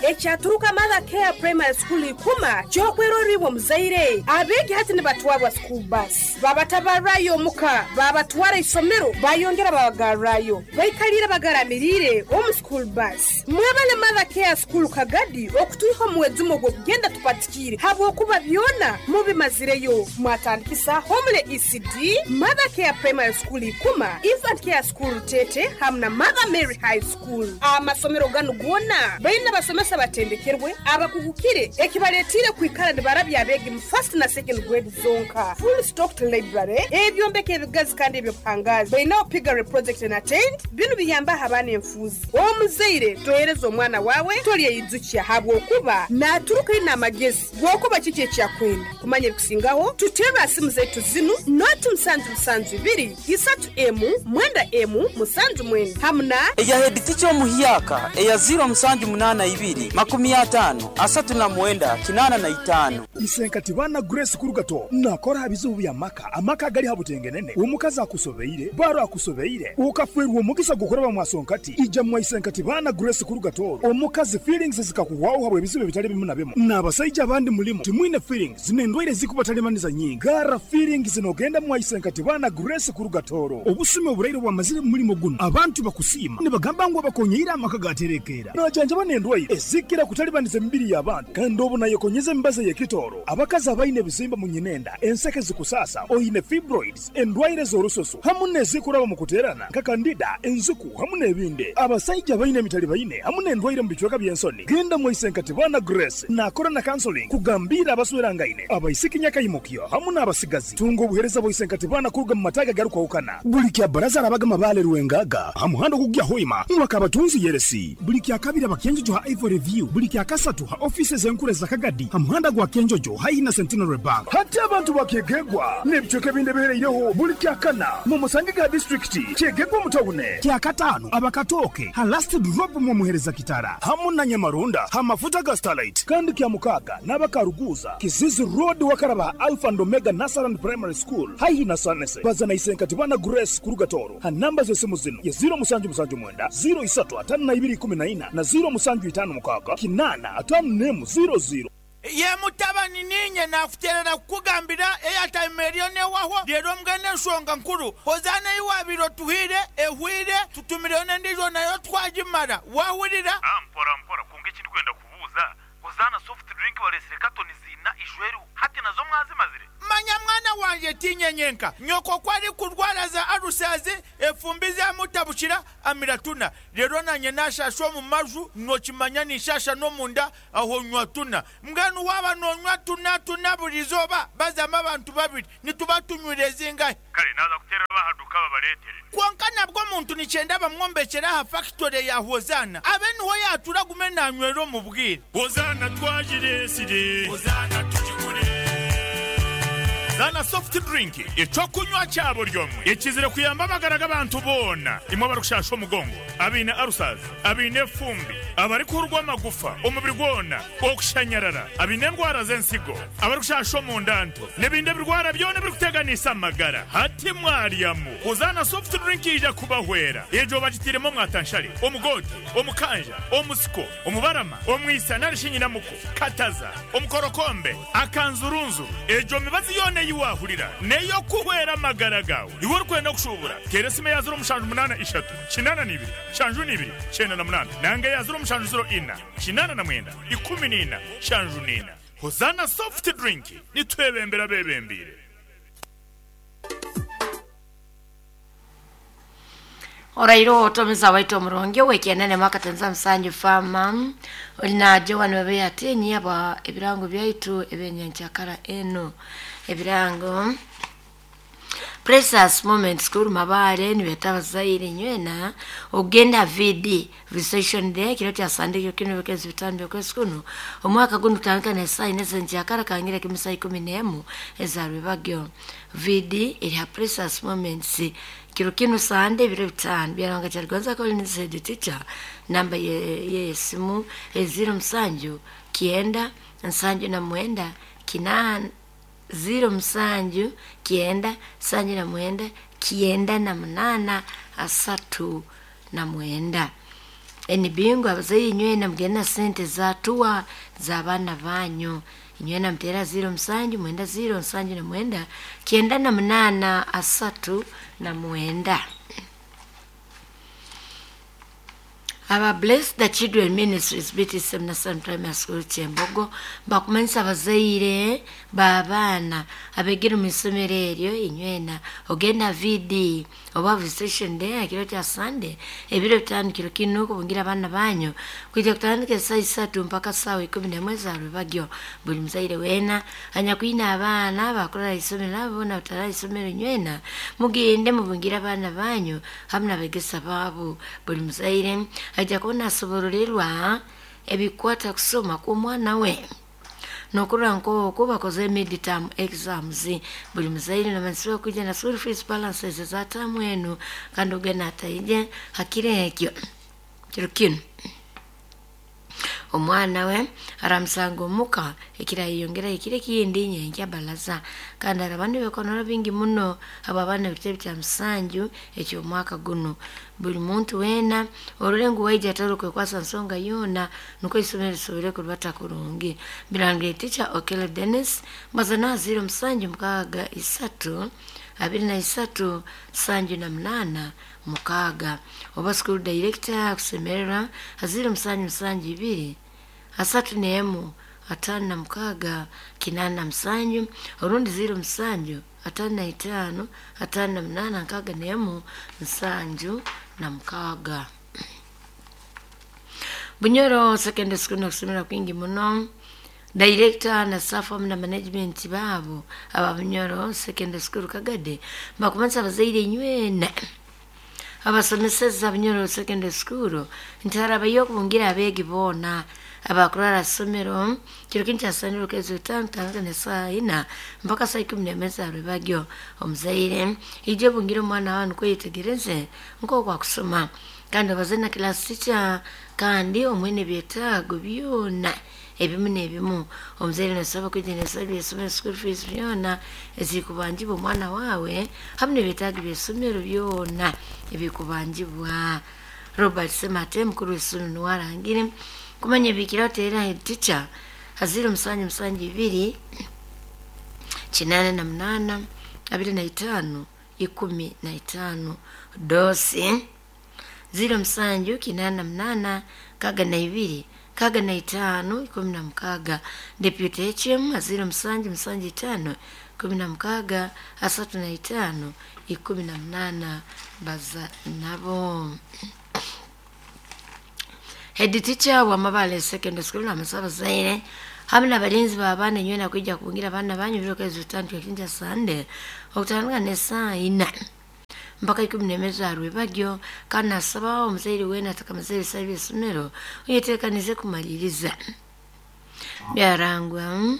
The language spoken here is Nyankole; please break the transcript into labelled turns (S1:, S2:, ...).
S1: Ekyaturuka Mother Care Primary School Ikuma ky'okwerora iwe omuzaire. Abeegi hati nibatwarwa school bus babatabarrayo omuka babatwara isomero bayongera babagarrayo. Baikaliire bagaramiriire omu school bus. Mwebale Mother Care School Kagadi okutwiha omu mwezi ogw'okugenda tupatikiire habwokuba byona mubimazireyo. Mwatandikisa Homely ECD, Mother Care Primary School Ikuma, Infant Care School Rutete hamu na Mother Mary High School. Amasomero ganu goona baine abasomesa abatendekerwe, abakugukire ekibaletiire kwikara nibarabya abeegi mu first na second grade zonka. Full stocked library, ebyombeko ebigazi kandi eby'obuhangaazi. Baineho piggery project na tent. Binu biyambaho abaana enfuuzi. Omuzaire tohereza omwana waawe tolyeyijukya habwokuba naaturuka aine amagezi g'okuba kiki eki akwenda. Kumanya ebikusingaho, tuteerre aha simu zaitu zinu, noti musanju musanju ibiri, isatu emu, mwenda emu, musanju mwenda hamu na.
S2: Eya heeditica omuhyaka eya ziiro musanju munaana ibiri, 50, 39, 85.
S3: Isenkati baana Grace Kurugato nakora aha bizibu bya maka, amaka agali ha butengenene, omukazi akusobeire, baro akusobeire, okafwerwa omugisa gw'okuraba mwasonkati, ija mwa Isenkati baana Grace Kurugato omukazi feelings zikakuhwaho habw'ebizibu ebitali bimu na bimu. N'abasaija abandi mulimu timwine feelings n'endwaire ezikubatalibaniza nyingi. Garra feelings nogenda mwa Isenkati baana Grace Kurugatoro. Obusumi oburaire obwamazire mu mulimo gunu abantu bakusiima nibagamba ngu abakonyeire amaka gaterekeera. Najanjaba n'endwaire ezikira kutalibaniza emibiri y'abantu kandi obu nayekonyeza emibazi ey'ekitooro. Abakazi abaine ebizimba mu nyinenda, enseke zikusaasa, oine fibroids, endwaire z'orususu hamu n'ezikuraba mu kuteerana nka kandida, enziku hamu n'ebindi. Abasaija abaine emitalibaine hamu n'endwaire mu bicweka by'ensoni, genda mwaise nka Tibana Grace naakora na counseling kugambiira abaswerangaine, abaisiki nyakaimukyo hamu n'abasigazi. Tunga obuheereza bwa Isenkati Baana kuruga mu mataagi agarikwahukana. Buli kya Baraza arabaga Mabaale Rwengaga ha muhanda ogukugya Hoima mwaka Abatunzi Yeresi. Buli kya Kabiri aba Kyenjojo ha Ivory View. Buli kya Kasatu ha ofiisi ez'enkuru eza Kagadi ha muhanda gwa Kyenjojo haihi na Centenary Bank. Hati abantu ba Kyegegwa n'ebicweka ebindi ebihereireho buli kya Kana mu musange ga disiturikiti Kyegegwa omu tawune. Kya Kataano aba Katooke ha Last Drop mu Omuhereza Kitara hamu na Nyamarunda ha mafuta ga Starlight. Kandi kya Mukaaga n'aba Karuguuza, Kizizi Road wakaraba ha Alpha and Omega Nursery and Primary School haihi na Sanese. Baza na Isenkati Bana Grace kuruga Tooro ha namba z'esimu zinu ye 0779 03 52 14 na 0756 851 00.
S4: Ye mutabani, niinye naakuteerera kukugambira eyataima eriyo neehwaho, reero mbwenu enshonga nkuru, Hozaana ei waabaire otuhaire ehwaire, tutumireyo n'endiijo nayo twagimara. Waahurira?
S5: Mpora mpora, kwonka eki ndikwenda kubuuza, Hozaana soft drink bareetsire katoni ziina ishweriho, hati nazo mwazimazire?
S4: Manya mwana wangye, tiinye nyenka. Nyoko ku arikurwara za alusazi, efumbi zamutabukira, amira tuna. Reero naanye naashaasha omu maju, nookimanya ninshaasha n'omunda, aho nywa tuna. Mbwenu waaba noonywa tuna tuna buri izooba, bazamu abantu babiri, nituba tunywire zingahi?
S5: Kare naaza kuteerera ab'aha duuka babareetere.
S4: Kwonka nabwo omuntu nikyenda bamwombekyere aha fakitore ya Hozaana, abe niho yaatuura agume naanywera omu bwire.
S6: Hozaana twagireetsire. Hozaana tugigure.
S7: Zaana Soft Drink, eky'okunywa kya buri omwe ekizire kuyamba amagara g'abantu boona. Imwe abarikushasha omugongo, abaine ulcers, abaine efumbi, abarikuhurwa amagufa omubiri gwona, okushanyarara, abaine endwara z'ensigo, abarikushasha omunda nto, n'ebindi ebirwara byona ebirikuteganisa amagara. Hati mwaryamu. Hozaana Soft Drink yaija kubahwera. Egyo bagitairemu omwatanshare, omugoote, omukanja, omusiko, omubarama, omwisa nari shi nyinamuko, kataza, omukorokombe, akanzurunzuru. Egyo mibazi yoona ei waahurira n'ey'okuhwera amagara gaawe. Iwe orikwenda kushuubura, teera esimu eya 0783 82 72 98 nanga eya 0704 89 14 74. Hozaana Soft Drink, nitwebembera abeebembeire.
S8: Oraire otomeza waitu omurungi ow'ekienene mwaka tenza musanju farmer oli na Joan Webeya ati nyaba ebirango byaitu ebyenyenkyakara enu ebirango Precious Moment School Mabaare nibeeta abazaire nywena okugenda VD Visitation Day kiro kya Sande kiro kinu by'okwezi bitaano by'okwezi kunu omwaka gunu kutandika n'esaaha ina ez'enkyakara kangire kimu saaha ikumi n'emu eza rwebagyo. VD eri ha Precious Moments kiro kinu Sande ebiro bitaano Byaruhanga Kyaligonza Collins head teacher namba ye y'esimu eri 07 kyenda nsanju na mwenda kinaana 07 kyenda 79 98 39. NB ngu abazaire inywena mugende na sente za tuwa z'abaana banyu. Inywena muteera 0 7 9 0 7 9 8 39. Aba Bless the Children Ministries BTC National Primary School Kyembogo bakumanyisa abazaire b'abaana abegere omu isomero eryo inywena ogenda VD oba visitation day ekiro kya Sunday ebiro 5 kiro kinu kubungira abaana banyu kwija kutandika esaa 3 mpaka sawa 11 za rwebagyo. Buli muzaire wena anyakwine abaana bakurara isomero nabo boona batarara isomero inywena mugende mubungire abaana banyu hamwe n'abegesa baabo. Buli muzaire ajja kubona asobororerwa ebikwata kusoma kw'omwana we nokurora nk'oku bakoze midterm exams. Buli muzaire namanyisibwa kwija na school fees balances za tamu enu kandi ogenda ataije hakiro ekyo kiro kinu omwana we aramusanga omuka ekirayeyongera ekiro ekindi nyenkya balaza kandi araba nibekonora bingi muno abo abaana ebitebe kya musanju eky'omwaka guno. Buli muntu weena orore ngu waija atari kwekwasa nsonga yoona nukwo isomero lisobole kurubata kurungi. Birangire teacher Okello Dennis mazana 0 7 6 23 78 6 oba school director akusemererwa 0 7 7 2 31 56 87 orundi 0 7 55 58 61 76. Bunyoro Secondary School nokusomera kwingi muno. Director na staff hamwe na management baabo aba Bunyoro Secondary School Kagade bakumanyisa abazaire inywena abasomeseza Bunyoro Secondary School nti harabayo okubungira abeegi boona abakurara somero kiro kinu kyasanire okezi 5 kutandika nesaa 4 mpaka saa 11 za rwebagyo. Omuzaire ije obungire omwana wawe nukwo yetegereze nk'oku akusoma kandi obaze na class teacher kandi omuhe n'ebyetaago byona ebimu n'ebimu. Omuzaire nasaba kwija n'ebisale by'isomero school fees byona ezikubanjibwa omwana wawe hamwe n'ebyetaago by'isomero byona ebikubanjibwa. Robert Semate mukuru w'isomero niwe arangire kumanya ebikira oteera head teacher 0 7 7 2 88 25 15 dosi 0 7 88 62 65 16 deputy HM 0 7 7 5 16 35 18 baza nabo. Head teacher wa Mabale Secondary School namasaba zaire hamwe n'abalinzi b'abaana inywena kwija kubungira abaana banyu biro kezi 5 kinja Sunday okutandika nesaa 4 mpaka 11 za rwebagyo kandi nasaba omuzaire weena atakamaze ebisale by'isomero oyeteekanize kumaliriza. Byarangwa